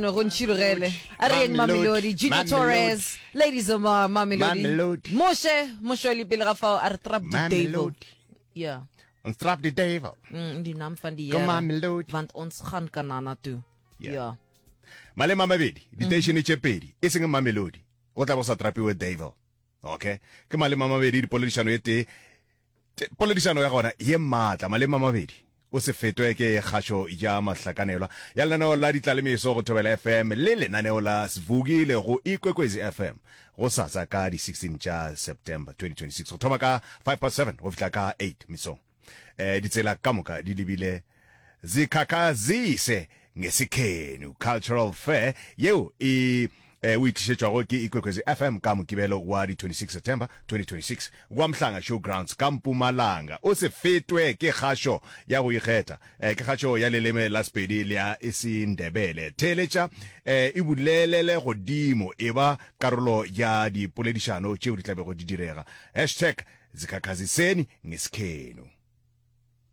No go ntšhirogele. A re yeng Mamelodi, Junior Torres, Lady Zamar, Mamelodi. Moshe, Moshweli pele ga fao a re trap die devil. Ja. Ons trap die devil. Mm, die naam van die Here. Want ons gaan Kanana toe. Ja. ja. Malema mabedi, diteišene tše pedi, e seng Mamelodi. Go tla bo sa trapiwe devil. Okay. Ke malema mabedi dipoledišano e tee. Poledišano ya gona ye maatla malema mabedi. O se fetwe ke kgašo ya mahlakanelwa ya lenaneo la Ditlalemeso go Thobela FM le lenaneo la Svukile go Ikwekwezi FM gosasa ka di 16 tša September 2026 go thoma ka 7:05 go fihla ka 8 mesong. Eh, ditsela ka moka di lebile Zikhakhazise Ngesikhenu Cultural Fair yeo e eh, o e tlišetšwago ke Ikwekwezi FM ka Mokibelo wa di 26 September 2026 kwa Mhlanga Showgrounds ka Mpumalanga. O se fetwe ke kgašo ya go ikgetha, eh, ke kgašo ya leleme la Sepedi le ya isiNdebele. Theeletša eh, e bulelele godimo, e ba karolo ya dipoledišano tšeo di tla bego di direga. Hashtag Zikhakhaziseni Ngesikhenu.